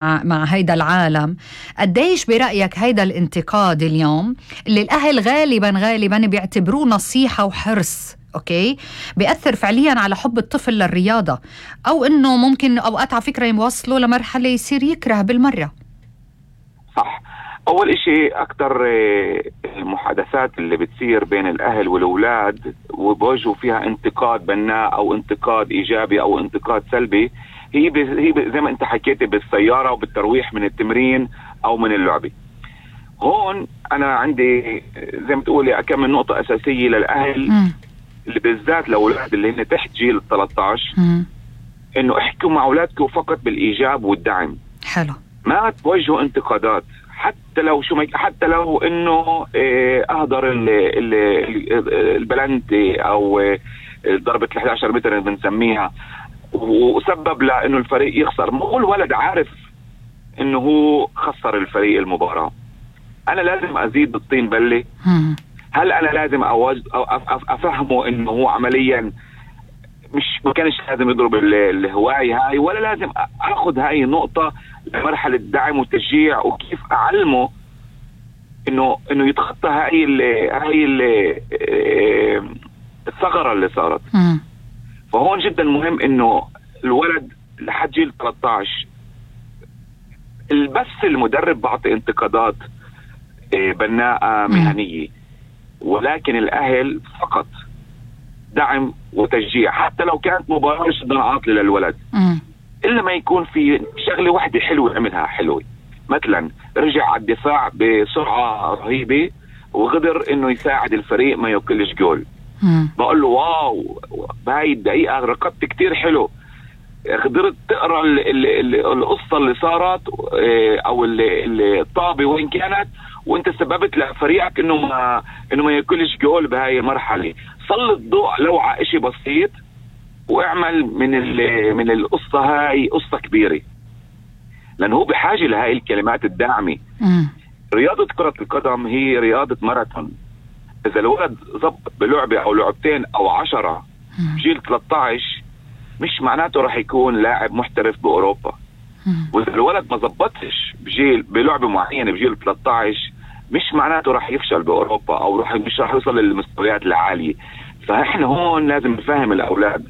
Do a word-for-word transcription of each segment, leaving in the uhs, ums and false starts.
مع هيدا العالم. قديش برأيك هيدا الانتقاد اليوم اللي الأهل غالبا غالبا بيعتبروه نصيحة وحرص أوكي بيأثر فعليا على حب الطفل للرياضة، أو إنه ممكن أوقات على فكرة يوصلوا لمرحلة يصير يكره بالمرة؟ صح. أول إشي أكتر المحادثات اللي بتصير بين الأهل والأولاد وبوجهوا فيها انتقاد بناء أو انتقاد إيجابي أو انتقاد سلبي هي هي زي ما أنت حكيتي بالسيارة وبالترويح من التمرين أو من اللعبة. هون أنا عندي زي ما تقولي كم من نقطة أساسية للأهل م. اللي بالذات لأولاد اللي هن تحت جيل ثلاثة عشر م. إنه احكوا مع أولادكم فقط بالإيجاب والدعم. حلو. ما توجهوا انتقادات حتى لو شو حتى لو إنه أهدر البلنتي أو ضربة ال إحدى عشر متر اللي بنسميها وسبب لأنه الفريق يخسر. مو الولد عارف إنه هو خسر الفريق المباراة. أنا لازم أزيد الطين بلة؟ هل أنا لازم أوجد أو أفهمه إنه هو عمليا مش ما كانش لازم يضرب الهواية هاي، ولا لازم أخذ هاي النقطة لمرحلة دعم وتشجيع وكيف أعلمه إنه إنه يتخطى هاي ال هاي ال الثغرة اللي صارت. فهون جدا مهم إنه الولد لحد جيل ثلاثة عشر بس المدرب بعطي انتقادات بناءة مهنية، ولكن الأهل فقط دعم وتشجيع حتى لو كانت مباراة جدا عاطلة للولد م. إلا ما يكون في شغلة واحدة حلوة عملها حلوة، مثلا رجع على الدفاع بسرعة رهيبة وقدر إنه يساعد الفريق ما يوكلش جول. م. بقول له واو بهاي الدقيقة ركضت كتير حلو، قدرت تقرأ ال ال ال القصة اللي صارت أو الطابة وين كانت، وانت سببت لفريقك انه ما انه ما ياكلش جول بهاي المرحله. سلط ضوء لو على شيء بسيط واعمل من من القصه هاي قصه كبيره، لانه هو بحاجه لهاي الكلمات الداعمه. رياضه كره القدم هي رياضه ماراثون. اذا الولد ضبط بلعبه او لعبتين او عشرة بجيل ثلاثة عشر مش معناته راح يكون لاعب محترف باوروبا. واذا الولد ما ضبطش بجيل بلعبه معينه بجيل ثلاثة عشر مش معناته راح يفشل باوروبا او راح مش راح يوصل للمستويات العاليه. فاحنا هون لازم نفهم الاولاد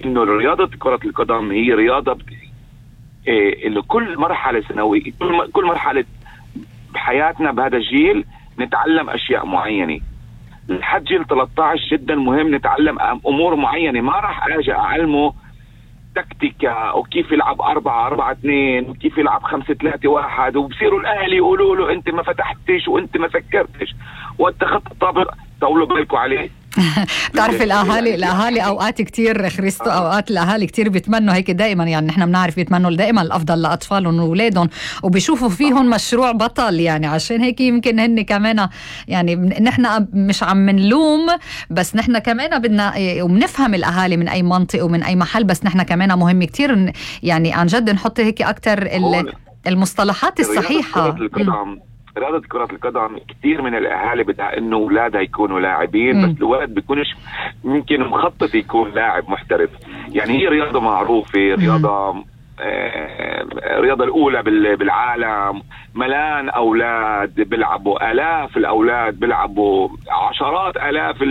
انه رياضه كره القدم هي رياضه إيه اللي كل مرحله سنويه كل مرحله بحياتنا بهذا الجيل نتعلم اشياء معينه. لحد جيل ثلاثة عشر جدا مهم نتعلم امور معينه. ما راح اجي اعلمه تكتيكا وكيف يلعب أربعة أربعة اثنين وكيف يلعب خمسة ثلاثة واحد وبصيروا الأهل يقولوا له أنت ما فتحتش وأنت ما فكرتش واتخذت الطابق. طولوا بالكوا عليه. بتعرف الأهالي الأهالي أوقات كتير خريستو أوقات الأهالي كتير بيتمنوا هيك دائما، يعني نحن بنعرف بيتمنوا دائما الأفضل لأطفالهم وأولادهم وبيشوفوا فيهم مشروع بطل، يعني عشان هيك يمكن هن كمان يعني نحن مش عم منلوم، بس نحن كمان بدنا وبنفهم الأهالي من أي منطقة ومن أي محل، بس نحن كمان مهم كتير يعني عن جد نحط هيك أكتر المصطلحات الصحيحة. رياضة كرة القدم كثير من الأهالي بدها إنه أولادها يكونوا لاعبين، م. بس الولد بيكونش ممكن مخطط يكون لاعب محترف. يعني هي رياضة معروفة، رياضة آه رياضة الأولى بالعالم، ملان أولاد بيلعبوا، آلاف الأولاد بيلعبوا، عشرات آلاف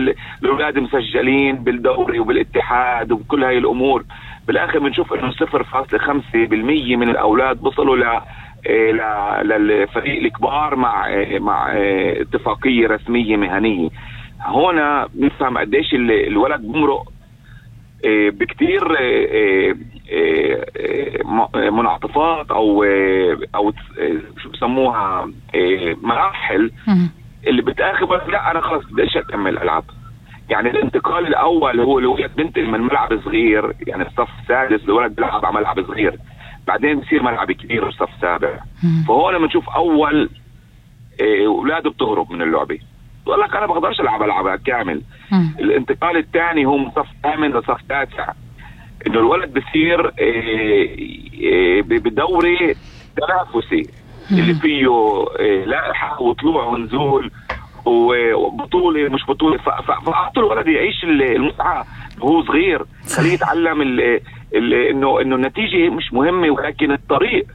الأولاد مسجلين بالدوري وبالاتحاد وبكل هاي الأمور. بالآخر بنشوف إنه صفر فاصلة خمسة بالمية من الأولاد وصلوا ل للفريق الكبار مع مع اتفاقية رسمية مهنية. هنا نفهم قديش الولد بمرق بكتير منعطفات او او شو بسموها مراحل اللي بتاخذ لا انا خلص بدي اكمل العب. يعني الانتقال الاول هو الولد بنتقل من ملعب صغير، يعني الصف السادس الولد بيلعب على ملعب صغير، بعدين بصير ملعب كبير وصف سابع. فهون لما نشوف اول اولاده بتهرب من اللعبه بقول لك انا بقدرش العب العبها كامل. مم. الانتقال الثاني هو من صف ثامن لصف تاسع، انه الولد بصير بدوري تنافسي اللي فيه لائحه وطلوع ونزول وبطوله مش بطوله. فاعطوا الولد يعيش المتعه وهو صغير، خليه يتعلم انه انه النتيجه مش مهمه ولكن الطريق